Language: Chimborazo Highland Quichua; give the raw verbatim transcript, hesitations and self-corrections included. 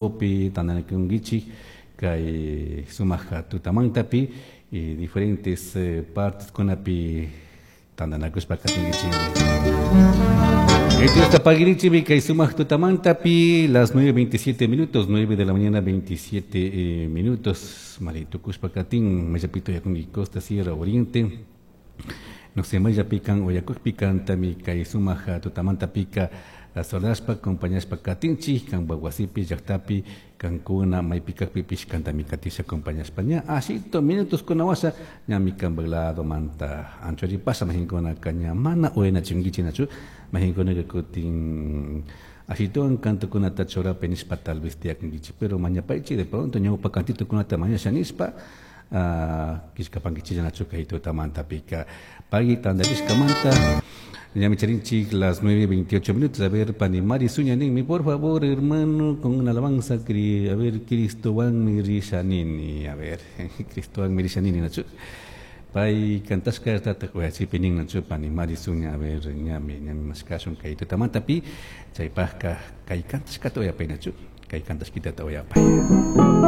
Pi tantanakunkichik kay sumaq tutamantapi y diferentes eh, partes kunapi tantanakushpa katinkichik. Diosta pagirichimi kay sumaq tutamantapi, las nueve veintisiete minutos, nueve de la mañana veintisiete eh, minutos. Maritukushpa katin, mayllapita uyakunki, Costa, Sierra, Oriente. No sé, mayllapikan uyakukpi kantami kay sumaq tutamantapika solashpa acompañashpa katinchik, kanpak wasipi, llaktapi, kankuna maypi kakpipish kantami katisha acompañashpa. Ña ashito minutos kuna washa ñami kanpak lado manta anchuripasha, majinkuna ña mana uyanachinkichik nachu, majinkuna kutin ashituwan cantokunata churapi nishpa tal vez tiyakunkichik, pero mañapaychik de pronto ñawpa cantitokunata mañasha nishpa killkapankichik nachu kay tutamantapika. Pagui tantarishkamanta. Ñami charinchik las nueve veintiocho minutos. A ver, pani Mari Suña ninmi, por favor, hermano, con una alabanza, a ver, Cristowan risha nini. A ver, Cristowan risha nini, nachu. Pay kantashka tataq uyachikpi nin nachu, pani Mari Suña. A ver, ñami, ñami mashkashun kay tutamantapi, chaypaqka kay kantashkata uyapay nachu, kay kantashkitata uyapay.